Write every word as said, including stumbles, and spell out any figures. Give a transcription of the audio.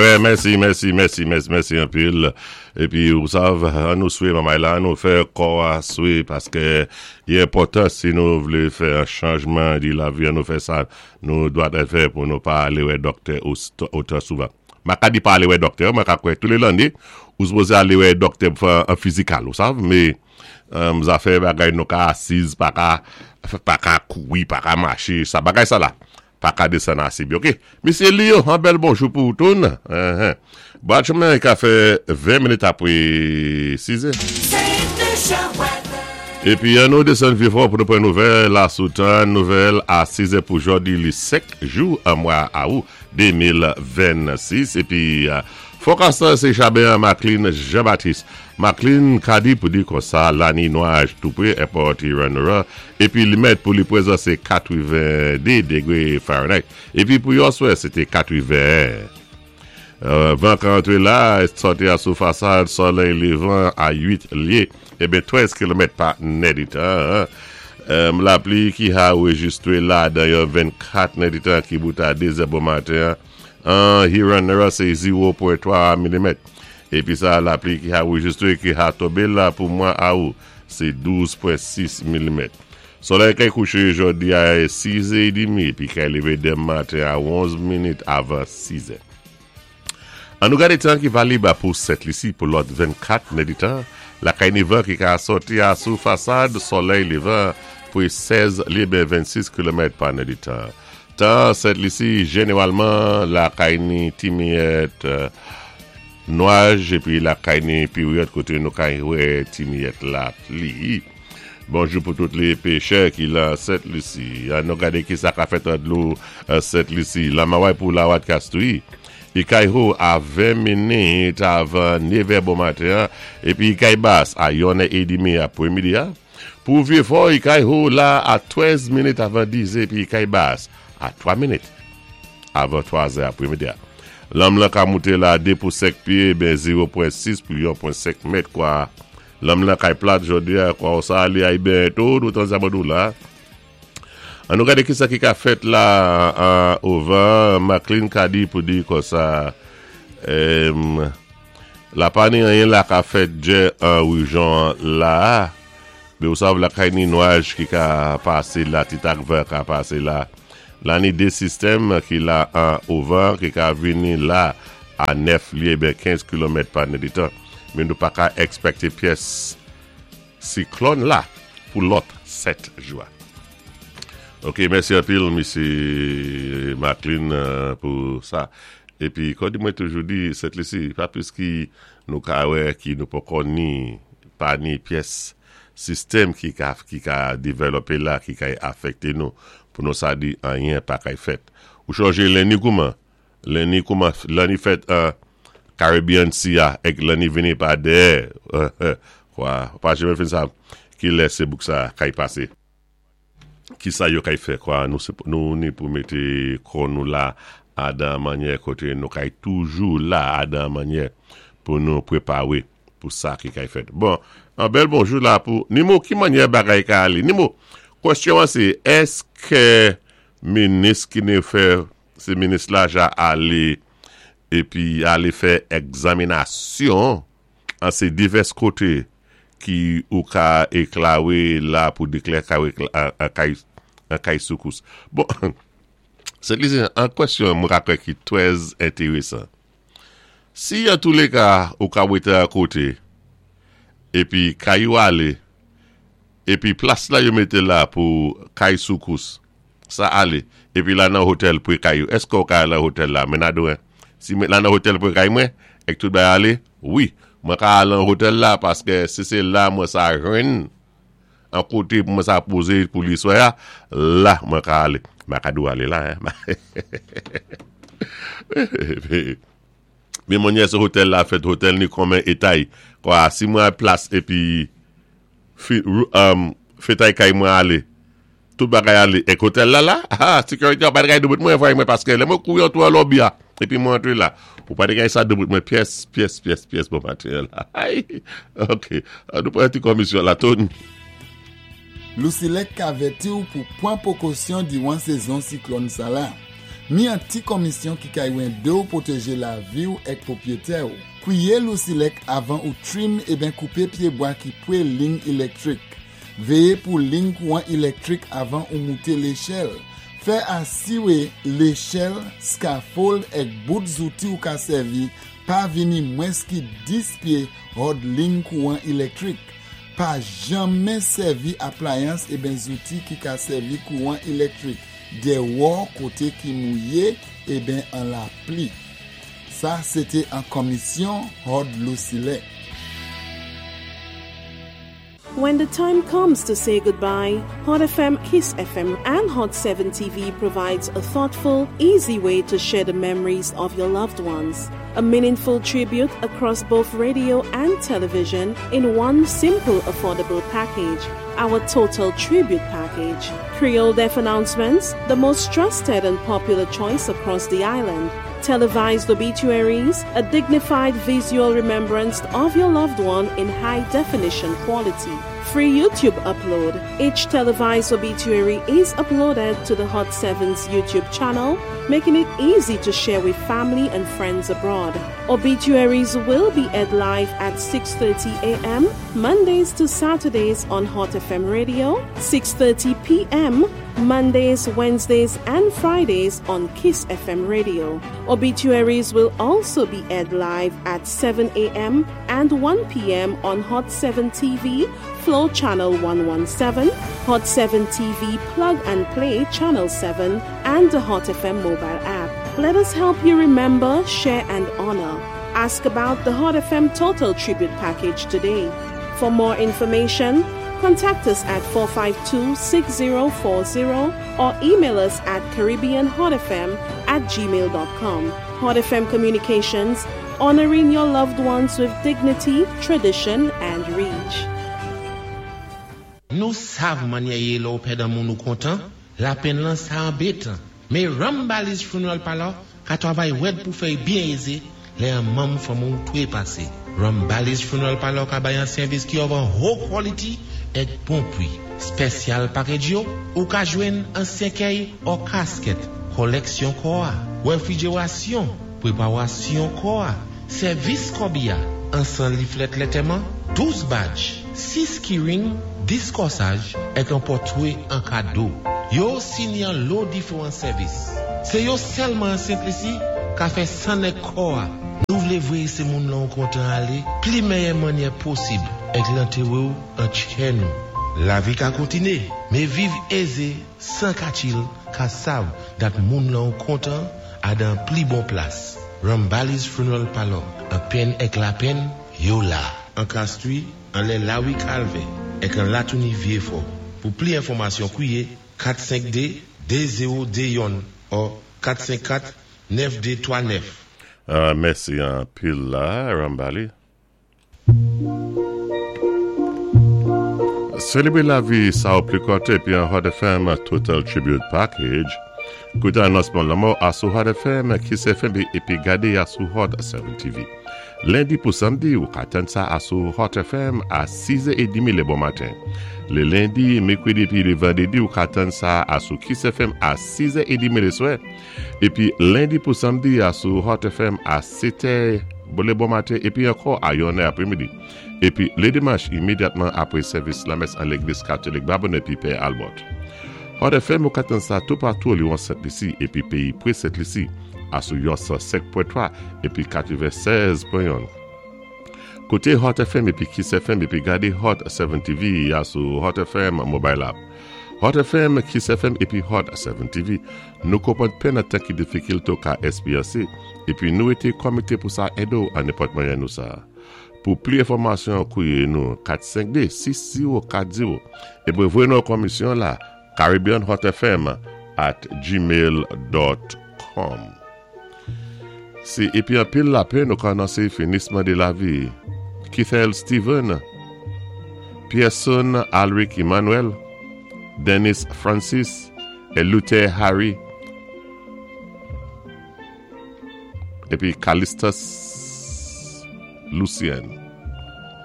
Wè, mèsi, mèsi, mèsi, mèsi, mèsi anpil. Épi, ou sav, an nou swé manmay la, an nou fè kò a swé, paské i enpòtan si nou vlé fè an chanjman di lavi, an nou fè sa, nou dwat fè pou nou pa alé wè dòktè otan souvan. Ma ka di pa alé wè dòktè, mwen ka kwè tou lé lanné, ou sipozé alé wè dòktè pou fè an physical, ou sav, mé um, zafè bagay nou ka asiz, pa ka, pa ka koui, pa ka maché, sa bagay sa la. Pa ka désann ase byen, ok. Misyé Leo, an bèl bonjou pou toun. Uh -huh. Batchman ka fè ven minit apwé sis. Épi, an nou désann Vieux-Fort pou nou pran nouvèl la sou tan, nouvèl a sis pou jòdi li senk jou an mwa awou de mil vennsis. Épi, uh, forecast sé Chabert Maclean Jean-Baptiste. Maclean ka di pou di kon sa, la ni nwaj tou pwé Airport Huron. Épi li mèt pou li pwézan sé katwéven-dé dégwé Fahrenheit. Épi pou yèswè, sété katwenn. Euh, van ka antré la, sòti a sou fasad, solèy lévan a uit lyé, ébyen trèz kilomèt pa nèditan. Euh, lapli ki a anwéjistwé la dan yon vennkat nèditan ki bout a dé zè bon maten, an Huron sé zewo pwen twa milimèt. Épi sa, lapli ki a anwéjistwé ki a tonbé la pou mwa awou, sé douz pwen sis milimèt. Solèy kay kouché jòdi a sis è dmi, épi kay lévé denmen maten a onz minit avan sis. An nou gadé tan ki valib pou Sent Lisi pou lòt vennkat nèditan, lakay ni van ki ka sòti a sou fasad, solèy lévan pou sèz lyé ben vennsis kilomèt pa nèditan. Tan Sent Lisi, jénéwalman, lakay ni ti miyèt euh, nwaj, épi lakay ni péryòd koté nou kay wè ti miyèt lapli. Bonjou pou tout lé péchè ki la Sent Lisi. An nou gadé ki sa ka fèt an dlo Sent Lisi. Lamaway pou la wat kastouy. I kay ho a ven minit avan nevè bon maten, épi i kay bas a yonnè édmi apwémidi. Pou Vieux-Fort, i kay ho la a trèz minit avan diz, épi i kay bas a twa minit avan twa apwémidi. Lanm lan ka mouté la dé pou senk pyé, ben zewo pwen sis pou yon pwen senk mèt kwa. Lanm lan kay plat jòdi a, kwa ou sa alé ay ben tou, nou tan zabodou la. An nou gadé ki sa ki ka fèt la an ovan, Maclean ka di pou di kon sa, em, la pa ni anyen la ka fèt djè an wijyon la, mé ou sav lakay ni nwaj ki ka pasé la, ti tak van ka pasé la. La ni dé sistèm ki la an ovan, ki ka vini la a nèf lyé ben kenz kilomèt pa nèditan. Mé nou pa ka èkspèkté pyès siklòn la pou lòt sèt jou. Ok, mèsi anpil, Misyé Maclean, euh, pou sa. Épi, kon di mwen toujou di, Sent Lisi, pa plis ki nou ka wè ki nou poko ni, pa ni pyès sistèm ki ka, ki ka dévlopé la, ki ka afèkté nou, pou nou sa di anyen pa kay fèt. Ou chonjé lenni kouman? Lenni kouman, lenni fèt an Caribbean Sea a, èk lenni vini pa dèyè, kwa, pa janmen fin sa, ki lè sé bouk sa kay pasé. Ki sa yo kay fè kwa, nou, se, nou ni pou mété kò nou la a dan mannyè koté nou kay toujou la a dan mannyè pou nou pwépawé pou sa ki kay fèt. Bon, an bèl bonjou la pou Nimo, ki mannyè bagay ka alé? Nimo, kwèsyon an sé, èské minis ki ni fè, sé minis la ja alé épi alé fè egzaminasyon an sé divès koté ki ou ka éklawé la pou déklè ka an kay, an kay soukous. Bon, se li an kwèsyon mwen ka kwè ki trè entérésan. Si an tou lé ka ou ka wété a koté, épi kay ou alé, épi plas la yo mété la pou kay soukous, sa alé, épi la nan hôtel pou kay ou, èské ou ka al nan hôtel la? Men adouin, si la nan hôtel pou kay mwen, èk tout bay alé, wi, mwen ka al nan hôtel la, paské si sé la mwen sa jwenn, an koté pou mwen sa pozé pou li swè, la mwen ka alé. Mwen ka dou alé la, hein. Mé mwen sé hôtel la fèt, hôtel ni konmen étay. Kwa, si mwen plas épi fi, um, fetay kay mwen alé, tout bagay alé, èk hôtel la la, ah, sékirité ou pa kay doubout mwen voy mwen paské lè mwen kouri antou an lobby a, épi mwen antré la. Ou pa kay sa doubout mwen pyès, pyès, pyès, pyès bon maten la. Ay, ok, nou pran ti komisyon la toun. Lousilek ka avèti ou pou pwan pwékosyon diwan sézon siklòn sa la. Mi an ti komisyon ki kay édé ou pwotéjé lavi ou èk pwopwiyétè ou. Kwiye LUCELEC avan ou trim eben koupé pyébwa ki pwé lign ilektwik. Véyé pou lign kouwan ilektwik avan ou mouté léchèl. Fè asiwé léchèl, scaffold èk bout zouti ou ka sèvi pa vini mwens ki dis pyé hòd lign kouwan ilektwik. Pa janmen sèvi aplayans eben zouti ki ka sèvi kouwan ilektwik. Déwò koté ki mouwé eben an lapli. Sa, sé an komisyon hòd LUCELEC. When the time comes to say goodbye, Hot F M, Kiss F M, and Hot seven T V provides a thoughtful, easy way to share the memories of your loved ones. A meaningful tribute across both radio and television in one simple, affordable package. Our Total Tribute Package. Creole Death Announcements, the most trusted and popular choice across the island. Televised obituaries, a dignified visual remembrance of your loved one in high definition quality. Free YouTube upload. Each televised obituary is uploaded to the Hot seven's YouTube channel, making it easy to share with family and friends abroad. Obituaries will be aired live at six thirty a m. Mondays to Saturdays on Hot F M Radio, six thirty p m. Mondays, Wednesdays, and Fridays on Kiss F M Radio. Obituaries will also be aired live at seven a m and one p m on Hot seven T V, Flow Channel one one seven, Hot seven T V Plug and Play Channel seven, and the Hot F M mobile app. Let us help you remember, share, and honor. Ask about the Hot F M Total Tribute Package today. For more information, contact us at four five two, six zero four zero or email us at caribbeanhotfm at gmail dot com. Hot F M Communications, honoring your loved ones with dignity, tradition, and reach. Nou sav mannyè yé lè ou pèd an moun ou kontan, lapenn lan sa anbétan. Mé Rambali's Funeral Parlor ka twavay wèd pou fè byen ézé, lè an manm fanmi ou twé pasé. Rambali's Funeral Parlor ka bay an sèvis ki of an high quality èk bon pwi. Special package yo, ou ka jwenn an sèkèy ou casket, koleksyon kò a, wefrijerasyon, pweparasyon kò a, sèvis kòbiya, an san leaflet lantèman, douz badge, sis keyring, dis kòsaj, èk an pòtwé an kado. Yo sini an lo diféwan sèvis. Sé yo sèlman an Sent Lisi ka fè sann èk kò a. Nou vlé vwé sé moun lan kontan alé, pli méyè mannyè posib, èk lantéwé ou an tchè nou. Lavi ka kontiné, mé viv ézé, san ka chill, ka sav dat moun lan kontan a dan pli bon plas. Rambali's Funeral Parlor, an penn èk lapenn, yo la. An Castries, anlè Lawi Calvin, èk an Latouni Vieux-Fort. Pou pli enfòmasyon, kwiye kat senk de de zewo de youn ou kat senk kat nèf de twa nèf. Euh, mèsi an pil la, Rambali. Sélébré lavi sa ou pli kontan épi an Hot F M Total Tribute Package. Kouté anonsman lanmò asou Hot F M, Kiss F M épi gadé asou Hot seven T V. Lendi pou samdi, ou ka tann sa asou Hot F M a sis è edmi lé bon maten. Lé lendi, mèkwédi épi lé vandédi, ou ka tann sa asou Kiss F M a sis è edmi lé swè. Épi lendi pou samdi asou Hot F M a sèt è lé bon maten épi ankò a yonn è apwémidi. Épi lé dimanch imédyatman apwé sèvis lamès an légliz katolik Babonneau épi Pè Albert. Hot F M ou ka tann sa toupatou li an Sent Lisi épi péyi pwé Sent Lisi asou yon san senk pwen twa épi katwennsèz pwen youn. Kouté Hot F M épi Kiss F M épi gadé Hot seven T V asou Hot F M mobile app. Hot F M, Kiss F M épi Hot seven T V. Nou konpwann penn an tan ki difikil tou ka éspeyansé épi nou été komité pou sa édé ou an nenpòt mwayen nou sa. Pou pli enfòmasyon, kwiye nou kat senk de sis zewo kat zewo épi voyé nou komisyon la caribbeanhotfm at gmail dot com. Sé épi an pil lapenn nou ka anonsé finisman dé lavi Keithel Steven, Pierson Alric Emmanuel, Dennis Francis et Luther Harry épi Callistus Lucien.